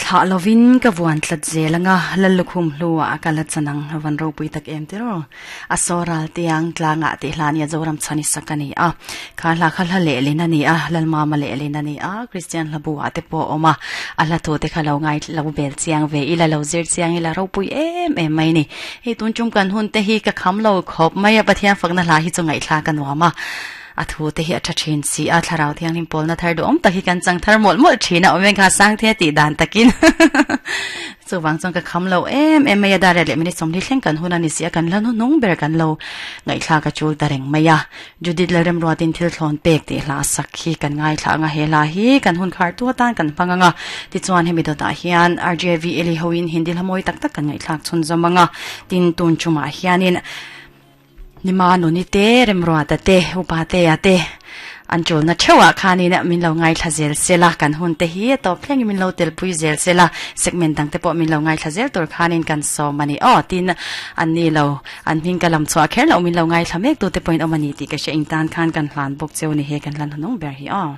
Thlah lovin ka vuan tlat zel anga Lallukhum hlua ka la chan ang a van ropui tak em tiraw. A saw ral tiang tlangah tih hla nia Zoram chhan i sak a ni a. Kha hla kha hla lehlin a ni a, Lalmama lehlin a ni a, Kristian hla bu ah te pawh a awm a. A hla thu te kha lo ngai lo bel chiang ve ila, lo zir chiang ila ropui em em mai ni. Hei tun tum kan hun te hi ka kham lo khawp mai a, Pathian fakna hla hi chu ngaihthlak a nuam a. A thu te hi a tha thin si a, thlarau thianghlim pawlna thar duhawm tak hi kan chang thar mawlh mawlh thin a, awm eng kha sang the tih dan takin chuvang chuan ka kham lo em em mai a, dar leh minute sawmhnih thleng kan hun a ni si a, kan la hnuhnung ber kan lo ngaihthlak a chul ta reng mai a. Judith Lalremruatin thil thlawn pek tih hla sak hi kan ngaithla ang a, he hla hi kan hun khar tu atan kan hmang ang a, tichuan hemi dawtah hian RJV Eli hoin Hindi hla mawi tak tak kan ngaihthlak chhunzawm ang a, tin tun tumah hianin Nima nuni te, Remruata te, Upatea te an ṭulna ṭheuhah khanin min lo ngaithla zel se la, kan hun te hi a tawp thlengin min lo telpui zel se la, segment dang te pawh min lo ngaithla zel tur khanin kan sawm a ni aw, tin an ni lo, an hming ka lam chhuah kher loh min lo ngaithla mek tute pawhin awm a ni tih ka hria, eng tan khan kan hlan bawk cheu ni he kan hlan hunung ber hi aw.